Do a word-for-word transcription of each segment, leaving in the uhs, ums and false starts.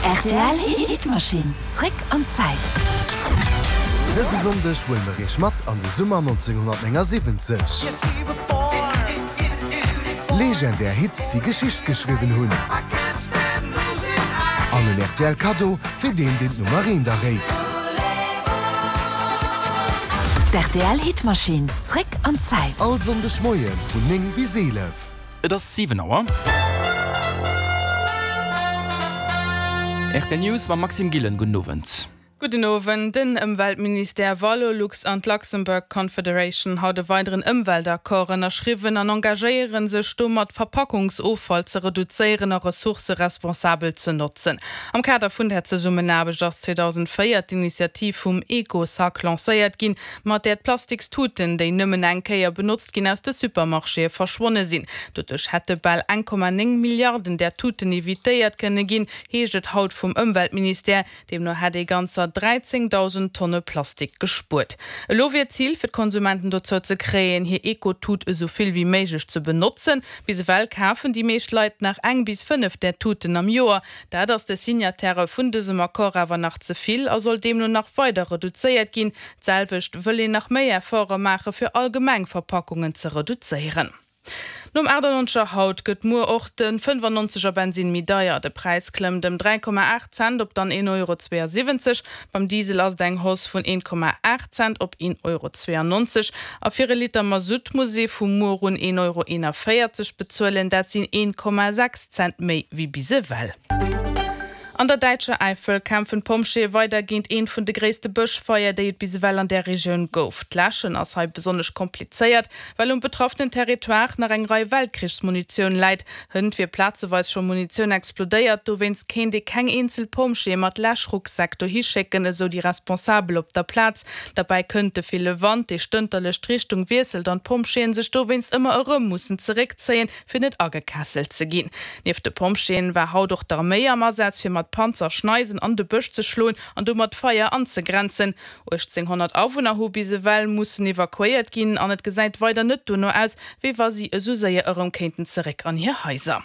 Rtl Hitmaschinn, zréck an d'Zäit. Dëse Sonndeg huele mer iech mat an de Summer nonzénghonnertnéngasiwwenzeg. Legendär Hits, déi Geschicht geschriwwen hunn. An en rtl Kaddo fir deen, deen d'Nummer eent erréit. D'RTL Hitmaschinn, zréck an d'Zäit. All Sonndeg Moie vun néng bis eelef. Et ass siwen Auer. Rtl News mam Maxime Gillen. Gudden Owend. Gudden Owend. Den Ëmweltministère, Valorlux an d'Luxembourg Confederation haut e weideren Ëmweltaccord ënnerschriwwen an engagéiere sech domat, Verpackungsoffall ze reduzéieren a Ressourcë responsabel ze notzen. Am Kader vun där Zesummenaarbecht ass zweedausendvéier d'Initiativ vum Eco-Sac lancéiert ginn, mat där d'Plastikstuten, déi nëmmen eng Kéier benotzt ginn, aus de Supermarchéë verschwonne sinn. Doduerch hätte bal eng Komma néng Milliarden där Tuten evitéiert kënne ginn, heescht et haut vum Ëmweltministère. Deemno hätt ee ganzer dräizéngdausend Tonne Plastik gespuert. Elo wier d'Zil, fir d'Konsumenten dozou ze kréien, hir Eco-Tut esou vill wéi méiglech ze benotzen. Bis ewell kafen déi meescht Leit nach eng bis fënnef där Tuten am Joer. Dat ass de Signatairë vun dësem Accord awer nach ze vill a soll deemno nach weider reduzéiert ginn. D'selwecht wëll een nach méi Efforte maache fir allgemeng Verpackungen ze reduzéieren. Nom achtannonzeger haut gëtt muer och de fënnfannonzeger Bensinn méi deier. De Präis klëmmt ëm dräi Komma aacht Cent op dann een Euro zweeasiwwenzeg. Beim Diesel ass et eng Hausse vun een Komma aacht Cent op een Euro zweeannonzeg. A fir e Liter Masutt muss ee vu muer un een Euro eenavéierzeg bezuelen, dat sinn een Komma sechs Cent méi wéi bis ewell. An der däitscher Äifel kämpfen d'Pompjeeë weider géint eent vun de gréisste Bëschfeier, déi et bis ewell an där Regioun gouf. D'Läschen ass hei besonnesch komplizéiert, well um betraffenen Territoire nach eng Rei Weltkrichsmunitioun läit. Hënt wier plazeweis scho Munitioun explodéiert, dowéinst kéint ee keng eenzel Pompjeeë mat Läschrucksäck dohi schécken, esou déi Responsabel op der Plaz. Derbäi kënnt de ville Wand, dee stënterlech d'Richtung wiesselt an d'Pompjeeë sech dowéinst ëmmer erëm mussen zeréckzéien, fir net agekesselt ze ginn. Nieft de Pompjeeën war haut och d'Arméi am Asaz, fir mat Panzer Schneisen an de Bësch ze schloen an domat d'Feier anzegrenzen. uechtzénghonnert Awunner hu bis ewell mussen evakuéiert ginn an et gesäit weider net dono aus, wéi wa si esou séier erëm kéinten zeréck an hir Haiser.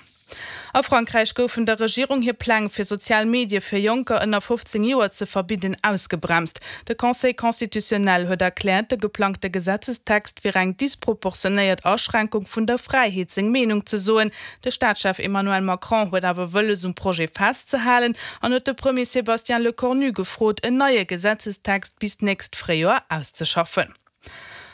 A Frankräich goufen der Regierung hir Pläng, fir sozial Medie fir Jonker ënner fofzéng Joer ze verbidden, ausgebremst. De Conseil constitutionnel huet erkläert, de geplangte Gesetzestext wier eng disproportionéiert Aschränkung vun der Fräiheet, seng Meenung ze soen. De Staatschef Emmanuel Macron huet awer wëlles, um Projet festzehalen an huet de Premier Sébastien Lecornu gefrot, en neie Gesetzestext bis d'nächst Fréijoer auszeschaffen.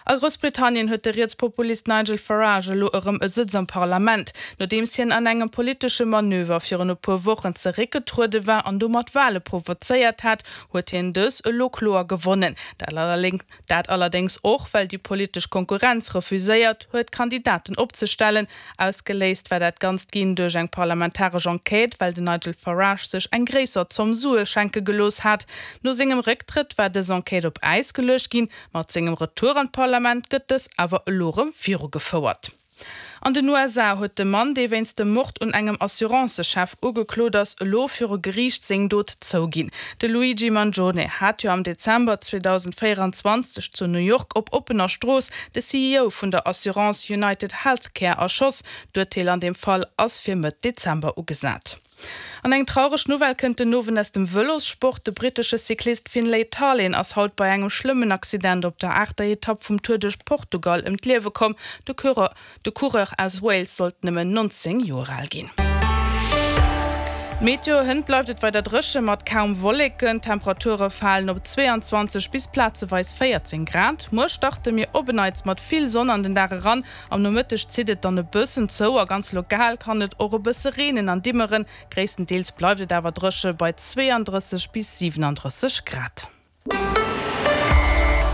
A Groussbritannien huet de Rietspopulist Nigel Farage elo erëm e Sëtz am Parlament, nodeems hien an engem politesche Manöver virun e puer Wochen zeréckgetruede war an domat Wale provozéiert hat, huet hien dës elo kloer gewonnen. Dat allerdéngs och, well déi politesch Konkurrenz refuséiert huet, Kandidaten opzestellen. Ausgeléist war dat Ganzt ginn duerch eng parlamentaresch Enquête, well den Nigel Farage sech eng gréisser Zomm Sue schenke gelooss hat. No sengem Récktrëtt war dës Enquête op Äis geluecht ginn. Mat sengem Retour an d'Parlament gëtt dës awer elo erëm virugefouert. An den U S A huet de Mann, dee wéinst dem Mord un engem Assurancechef ugeklot ass, elo viru Geriicht seng Dot zouginn. De Luigi Mangione hat jo am Dezember zweedausendvéieranzwanzeg zu New York op oppener Strooss de C E O vun der Assurance United Healthcare erschoss. D'Urteel an deem Fall ass fir Mëtt Dezember ugesat. An eng traureg Nouvelle kënnt den Owend aus dem Vëlossport, De brittesche Cyclist Finlay Tarlin ass haut bei engem schlëmmen Accident op der aachter Etapp vum Tour duerch Portugal ëm d'Liewe komm. De Coureur aus Wales sollt nëmmen nonzéng Joer al ginn. D'Meteo, Hënt bleift et weider dréche mat kaum Wolleken. D'Temperature falen op zweeanzwanzeg bis plazeweis véierzéng Grad. Muer starte mir op en Neits mat vill Sonn an den Dag eran. Am Nomëtteg zitt et dann e bëssen zou a ganz lokal kann et och e bësse reenen an dimmeren. Gréisstendeels bleift et awer dréche bei zweeandrësseg bis siwenandrësseg Grad.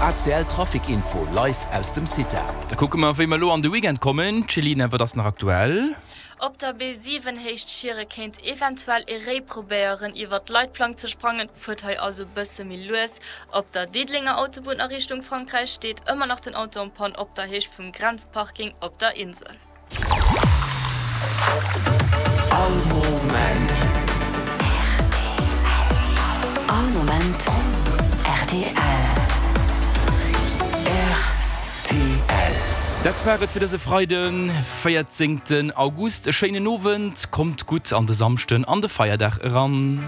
A C L Trafic Info live aus dem CITA. Da kucke mer, wéi mer elo an de Weekend kommen. Céline, wat ass nach aktuell? Op der B siwen Héicht Schiere kéint eventuell ee Réi probéieren iwwert d'Leitplank ze sprangen, fuert hei also bësse méi lues. Op der Diddelenger Autobunn a Richtung Frankräich steet ëmmer nach den Auto en Panne op der Héicht vum Grenzparking op der Insel. All Moment. All Moment rtl. Rtl. Dat war et fir dëse Freiden, véierzéngten August. E schéinen Owend, kommt gutt an de Samschden an de Feierdag eran.